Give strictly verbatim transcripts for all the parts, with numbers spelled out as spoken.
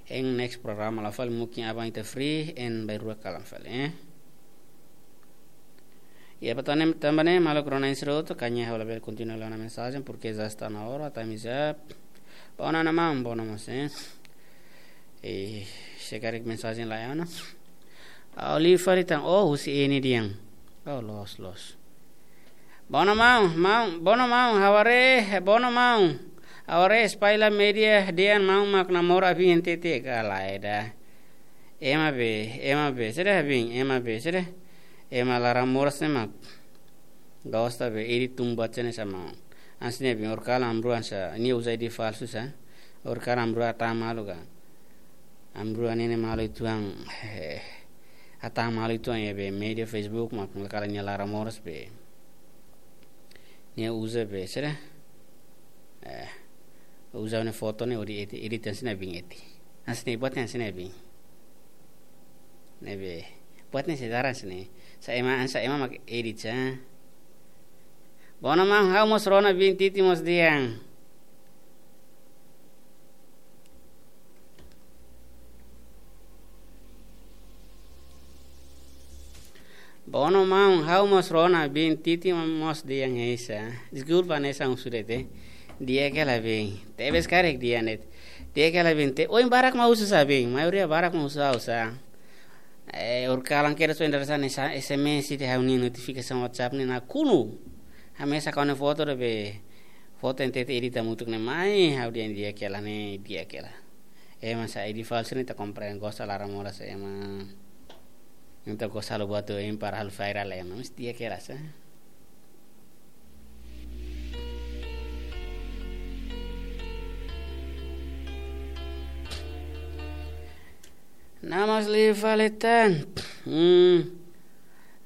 Hein next programa la fali, mungkin aban ita free, hein bainrua kalan fali, eh. Ya, patane tambane, maluk rona ensroto, kanya hau labele kontinua la ona mensajen, porque já está na hora, time is up. Bona na mam, bona mos, eh. Eh, se karik mensajen la ona. Ha'u liu fali tan, oh, husi ini dian. Oh, loos, loos. Bona maun, maun, bona maun, ha'u haree, bona maun. Ha'u haree espalla média dehan maun mak namora biin tete ka lae ida. Ema be, ema be, sede biin, ema be, sede. Ema laran moras ne'e mak gosta be, iri tumbat sene sama. Hanesan ne'e biin, horikalan amrua hanesan, nia uza I D falsu sa. Horikalan amrua hatán malu ka. Amrua ne'e ne'e malu uitoan, eh, hatán malu uitoan iha be média Facebook mak, kala nia laran moras be. Nia uza be, sede. Eh, uza ne'e foto ne'e hodi edit, edit hanesan ne'e biin edit. Hanesan ne'e buat hanesan ne'e biin. Ne'ebé. Buat ne'e sedaran sini. Sa ema, sa ema mak edit sa. Bona maun, ha'u mós rona biin titi mós dehan. Bona maun, ha'u mós rona biin titi mós dehan hanesan. Deskulpa hanesan husu de'it. Di'ak hela biin. Tebes karik dehan de'it. Di'ak hela biin te. Oin barak mak husu sa biin. Maioria barak mak husu ha'u sa. Eh, horikalan kedas oin dadeer-saan ne'e sa, S M S ida ha'u-nia notifikasaun WhatsApp ne'e nakonu. Hamesak ha'u-nia foto ida be. Foto ne'e tete edit hamutuk ne'e mai, ha'u dehan di'ak hela ne'e, di'ak hela. Ema sa I D falsu ne'e ita komprende, gosta laran moras ema. Ita gosta halo buat oin para halo viral ema. Mesti di'ak hela sa. Namas liu fali tan. Hmm.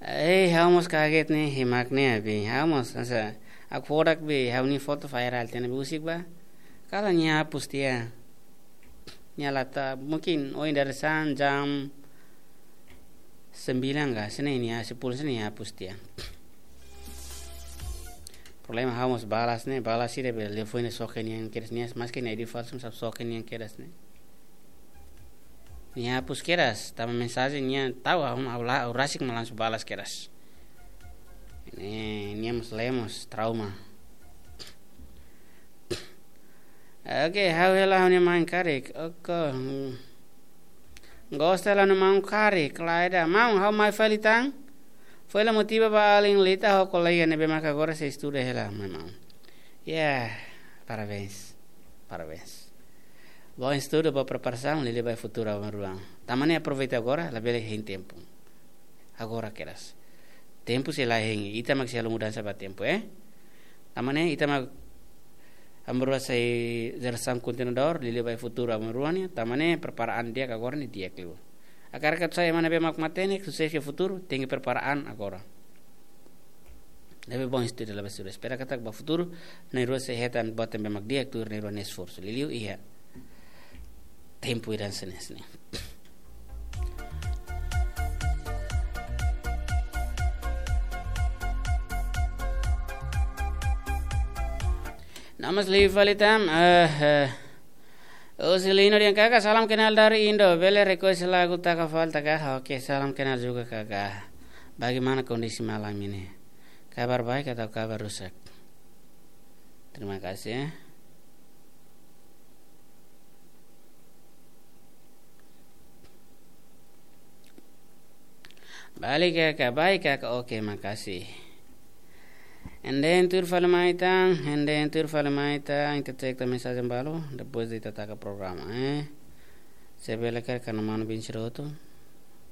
Eh, ha'u mós kaget ne'e, himak ne'e biin. Ha'u mós, hanesan, hakfodak be, ha'u-nia foto viral tiha ne'ebé husik ba. Kala nia hapus tiha. Nia la hatán, mungkin oin dadeer-saan jam sembilan ka, hanesan ne'e nia, sepuluh hanesan ne'e nia hapus tiha. Problema ha'u mós balas ne'e, balas ida be, liafuan ne'e soke nian kedas nia, maski nia I D falsu, sab soke nian kedas ne'e. Nia hapus kedas, tanba mensajen nia tau, ha'u, ha'u la, ha'u rasik mak langsung balas kedas. Ne'e, nia mós lemos, trauma. Oke, ha'u hela ha'u-nia maun karik. Oke. Hmm. Gosta hela ha'u-nia maun karik, lae ida. Maun, ha'u mai fali tan. Foin la motiva ba alin lita ho kolega ne'ebé maka agora sei estuda hela, maun. Ya, parabéns. Parabéns. Bom estudu, boa preparasaun, liuliu ba futuru aban-bainrua. Tanba ne'e aproveita agora, labele hein tempu. Agora kedas. Tempu sei la hein, ita mak sei halo mudansa ba tempu, eh? Tanba ne'e ita mak aban-bainrua sai jerasaun kontinuadór, liuliu ba futuru aban-bainrua nian, tanba ne'e prepara an di'ak agora ne'e di'ak liu. Hakarak atu sai ema ne'ebé mak matenek, susesu iha futuru, tenke prepara an agora. Ne'ebé bom estuda, labele estuda. Espera katak ba futuru, na'in-rua sei hetan buat ne'ebé mak di'ak tuir na'in-rua nia esforsu. Liuliu iha tempu ida hanesan ne'e. Namas liu fali tan, eh, eh. Osilino dehan kaka, salam kenal dari Indo. Bele request lagu Taka Falta ka? Oke, salam kenal juga kaka. Bagaimana kondisi malam ini? Kabar baik atau kabar rusak? Terima kasih ya. Balik kaka, baik kaka, oke, makasih. Ende tuir fali mai tan, ende tuir fali mai tan, ita cek tan mensajen balu, depois de ita taka programa, eh. Se bele karik ha'u-nia manu biin sira hotu,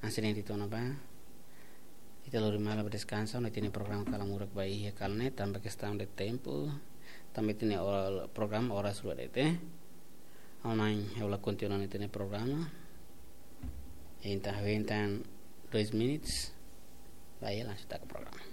hanesan ne'e ita ona ba. Ita lori malu ba deskansa, no ita-nia programa kalan murak ba iha kalan ne'e, tanba kestaun de tempu, tanba ita-nia or-, programa oras rua de'it. Ha'u-nia, ha'u la kontinua ita-nia programa. Entaun, entaun dois minutos. Ba iha langsung taka programa.